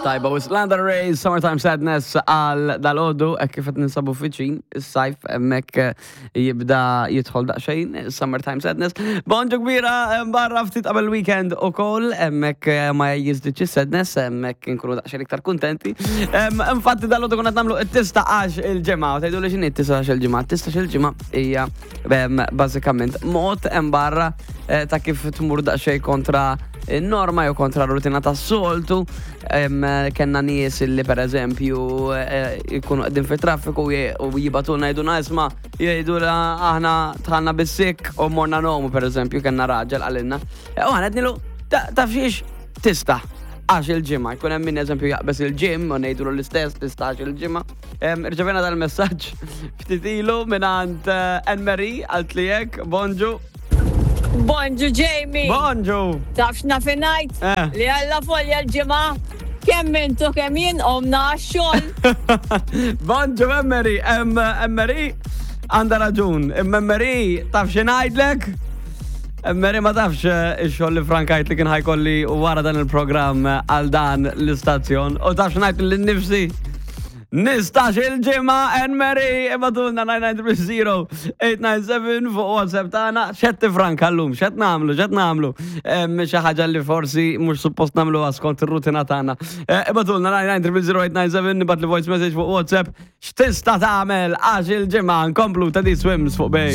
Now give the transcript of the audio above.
Tajba, wisq Lana Del Rey, Summertime Sadness għal dal-ħodu, hekk kif qed ninsabu fiċin, is-sajf hemmhekk jibda jidħol daqsxejn, Summertime Sadness. Bonġu kbira barra ftit qabel weekend ukoll, hemmhekk ma jiżdiedx is-sadness, hemmhekk inkunu daqsxejn iktar kuntenti. Infatti dal-ħodu konna qed nagħmlu it-tista għax il-ġimgħa, u tgħidu li x'inhi t-tista għax il-ġimgħa? T-tista il-ġimgħa hija bażikament mod hemm barra ta' kif tmur daqsxejn kontra norma jew kontra rutina tas-soltu. Kenna nies li per eżempju jkunu qegħdin fit-traffiku u jibatulna jgħidulna isma' jgħidu aħna dħalna bis-sikk u morna nomu per eżempju kenna raġel qalilna. U aħna għednilu taf xiex tista' għax il-ġimgħa. Jkun hemm min eżempju jaqbeż il-gym u ngħidulu l-istess tista' għax il-ġimgħa. Irċevejna dal-messaġġ ftit ilu mingħand Anne Marie għalt li hekk, bonġu. Bonġu Jamie. Bonġu. Taf x'naf ngħid? Li Alla folja l-ġimgħa kemm intu kemm jien qomna għax-xogħol. Bonġu Anne Anne Marie għandha raġun. Imma Anne Marie taf xi ngħidlek? Anne Marie ma tafx ix-xogħol li frankajt li kien ħajkolli wara dan il-programm għal dan l-istazzjon. U taf x'ngħid lil nifsi? Nistax il-ġimgħa Anne Marie ibagħtulna 9930897 fuq WhatsApp tagħna x'qed tifranka llum, x'qed nagħmlu, x'qed nagħmlu. Xi ħaġa li forsi mhux suppost nagħmluha skont ir-rutina tagħna. Ibagħtulna 9930897 nibgħat li voice message fuq WhatsApp x'tista' tagħmel għax il-ġimgħa nkomplu ta' di Swims fuq Bay.